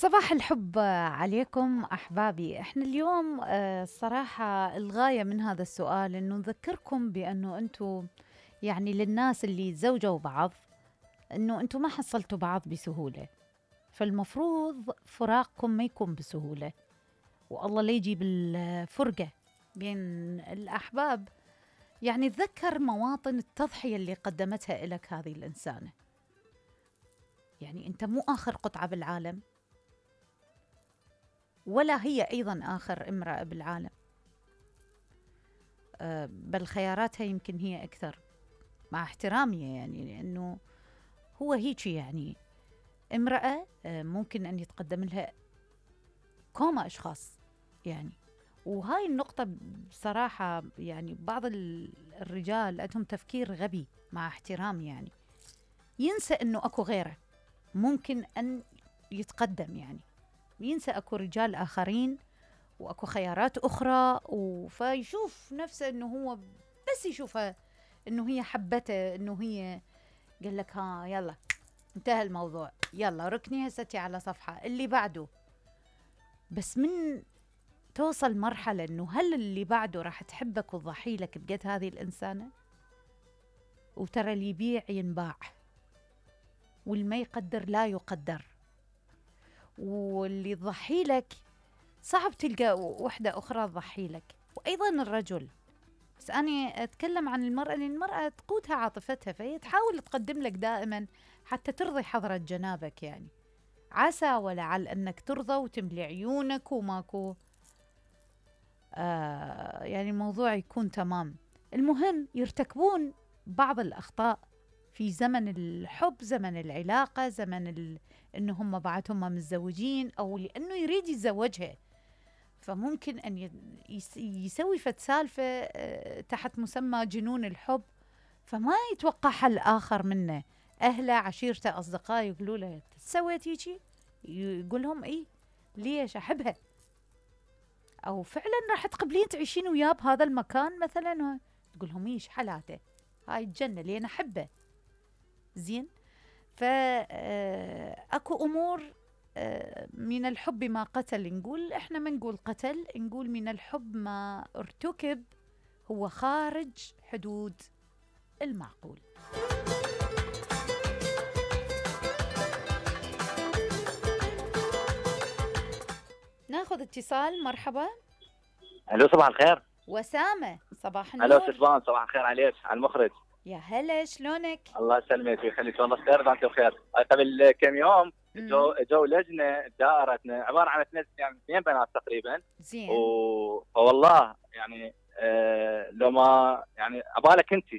صباح الحب عليكم أحبابي. احنا اليوم الصراحة الغاية من هذا السؤال إنه نذكركم بأنه أنتم يعني للناس اللي تزوجوا بعض إنه أنتم ما حصلتوا بعض بسهولة، فالمفروض فراقكم ما يكون بسهولة، والله لا يجيب الفرقة بين الأحباب. يعني تذكر مواطن التضحية اللي قدمتها لك هذه الإنسانة. يعني أنت مو آخر قطعة بالعالم، ولا هي أيضاً آخر امرأة بالعالم، بل خياراتها يمكن هي أكثر، مع احترامي يعني، لأنه هو هيك يعني امرأة ممكن أن يتقدم لها كوما أشخاص يعني. وهاي النقطة بصراحة يعني بعض الرجال عندهم تفكير غبي، مع احترامي يعني، ينسى أنه أكو غيره ممكن أن يتقدم، يعني ينسى أكو رجال آخرين وأكو خيارات أخرى، فيشوف نفسه أنه هو بس يشوفها أنه هي حبته، أنه هي قال لك ها يلا انتهى الموضوع، يلا ركني هستي على صفحة اللي بعده. بس من توصل مرحلة أنه هل اللي بعده راح تحبك وتضحي لك بقد هذه الإنسانة؟ وترى اللي يبيع ينباع، واللي ما يقدر لا يقدر، واللي تضحي لك صعب تلقى وحدة أخرى تضحي لك. وأيضا الرجل، بس أنا أتكلم عن المرأة، لأن المرأة تقودها عاطفتها، فهي تحاول تقدم لك دائما حتى ترضي حضرة جنابك، يعني عسى ولعل أنك ترضى وتملي عيونك وماكو يعني الموضوع يكون تمام. المهم يرتكبون بعض الأخطاء في زمن الحب، زمن العلاقة، زمن إنه هم بعدهم متزوجين، أو لأنه يريد يتزوجها، فممكن أن يسوي فد سالفة تحت مسمى جنون الحب، فما يتوقع حل آخر منه. أهله، عشيرته، أصدقائه يقولوا له سويت هيجي، يقول لهم إيه ليش أحبها، أو فعلا راح تقبلين تعيشين وياه بهذا المكان مثلا، تقول لهم إيش حالاته، هاي الجنة لين أحبه. زين، فأكو أمور من الحب ما قتل، نقول إحنا ما نقول قتل، نقول من الحب ما ارتكب هو خارج حدود المعقول. ناخذ اتصال. مرحبا. الو صباح الخير. وسامة صباح النور. الو سلفان صباح الخير عليك، على المخرج. يا هلا شلونك؟ الله يسلمك ويخليك، والله بخير وانت بخير. قبل كم يوم جو لجنه دائرتنا عباره عن اثنين بنات تقريبا. زين. فوالله يعني لو ما يعني عبالك انت